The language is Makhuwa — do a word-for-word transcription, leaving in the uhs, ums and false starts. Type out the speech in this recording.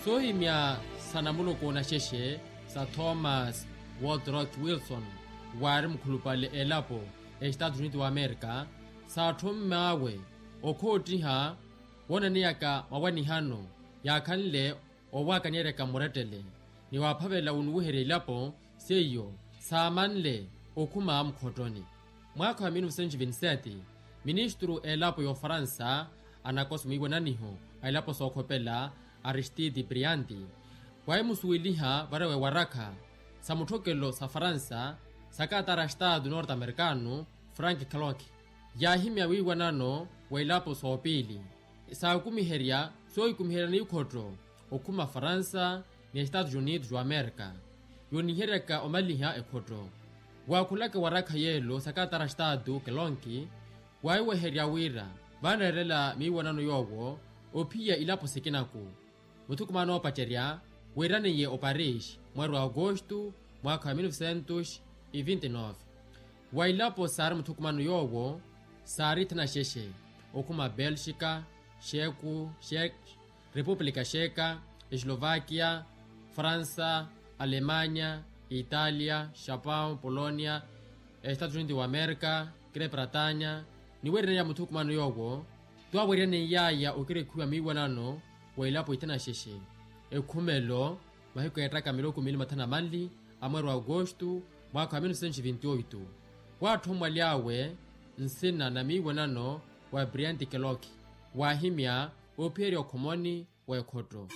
Soohimya sa namuluku naxexe sa thomas waldrock wilson, waari mukhulupale elapo estatu uniti wa amerika, saatthomm'awe okhoottiha woonaneyaka mawanihano yaakhanle owakanyeryaka mmurettele ni waaphavela wunuwiherya ilapo seiyo saamanle okhuma mukhottoni. Mwaakha wa mil novecentos e vinte sete, ministru elapo y'ofaransa anakoso mwiiwananiho a ilapo sookhopela aristide brianti waahimusuweliha varewa ewarakha sa mutthokelo sa faransa sa katara a estatu norte amerikano frank clock, yaahimya wiiwanano wa ilapo soopiili saakumiherya soohikumiheryani ikhotto okhuma faransa ni estatu unidos wa amerika yooniheryaka omaliha ekhotto. Waakhulaka ewarakha yeelo sa katara a estatu kelonki waahiweherya wira vaanareerela miiwanano yoowo ophiya ilapo sikinaku. Muthukumano oopacerya wiiraniye oparis mweeri wa agosto mwaakha wa mil novecentos e vinte nove. Wa ilapo saari muthukumano yoowo saari tthanaxexe okhuma belxika, xeku, xek, repupulika xeka, eslovakia, faransa, alemanya, italia, xapão polonia, estatu unidos wa amerika, grepratanya. Ni weeryanaya muthukumano yoowo twaaweeryaney'aya okirekhiwa miiwanano wa ilapo ithanaxexe ekhumelo mahiku eettaka miloko miili mathanu na manli a mweeri wa agosto mwaakha wa mil novecentos e vinte oito. Waatthommwaly'awe nsina na miiwanano wa brianti keloki waahimya oophiyerya okhomoni wa ekhotto.